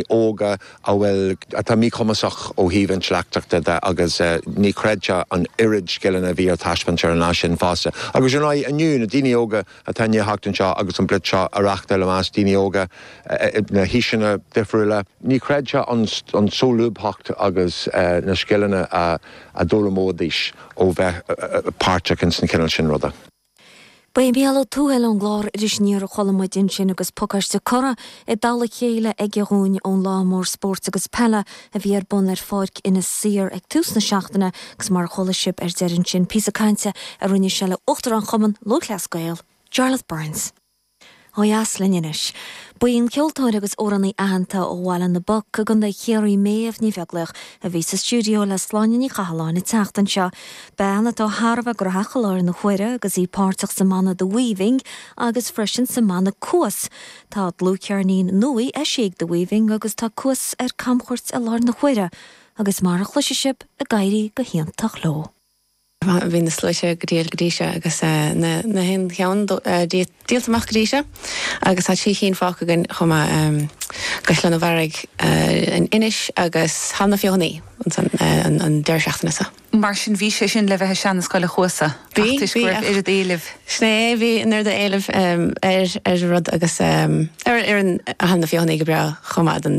Óga a bhfuil, atá míchumasach ó thaobh intleachtachta de agus ní chreidfeá an oiread scileanna a bhí ar taispeáint ar an lá sin fosta. Agus ar ndóigh inniu, na daoine óga atá i ndiaidh theacht anseo agus an Blitz seo a reáchtáil i measc daoine óga na haoiseanna difriúla, ní chreidfeá an solúbthacht agus na scileanna a d'fhoghlaimeoidís ó bheith páirteach ins an chineál sin ruda. Ba é Mícheál Ó Tuathail ón gclár Iris Aniar a chuala muid ansin agus pacáiste curtha i dtoll a chéile aige dhúinn ón lá mór spóirt agus peile a bhí ar bun ar Pháirc Inis Oírr ag tús na seachtaine agus mar a chuala sibh ar deireadh ansin píosa cainte a rinne sé le Uachtarán Chumann Lúthchleas Gael, Jarlath Burns. Ó dheas linn anois. Ba í an ceoltóir agus amhránaí aitheanta ó Bhaile na bPoc i gContae Chiarraí Méabh Ní Bheaglaoich a bhí sa stiúideo le Sláine Ní Chathalláin an tseachtain seo. Bean atá thar a bheith graitheach i láthair na huaire agus í páirteach sa mbanna The Weaving agus freisin sa mbanna Cuas. Tá dlúthcheirnín nua eisithe ag The Weaving agus tá Cuas ar camchuairt i láthair na huaire agus mar a chloisfidh sibh ag éirí go hiontach leo. Bhí na sluaite go diail go dtí seo agus na haon cheann díolta amach go dtí seo agus tá 3 chinn fágtha againn chomh maith, Caisleán an Bharraigh in Inis agus Halla na Feothanaí ansan an deireadh seachtaine seo. Mar sin bhí sé sin le bheith i Seana Scoil a' Chuasa ach toisc go raibh oiread éilimh. Sin é, bhí an oiread éilimh ar ar an rud agus ar an Halla na Feothanaí go breá chomh maith don.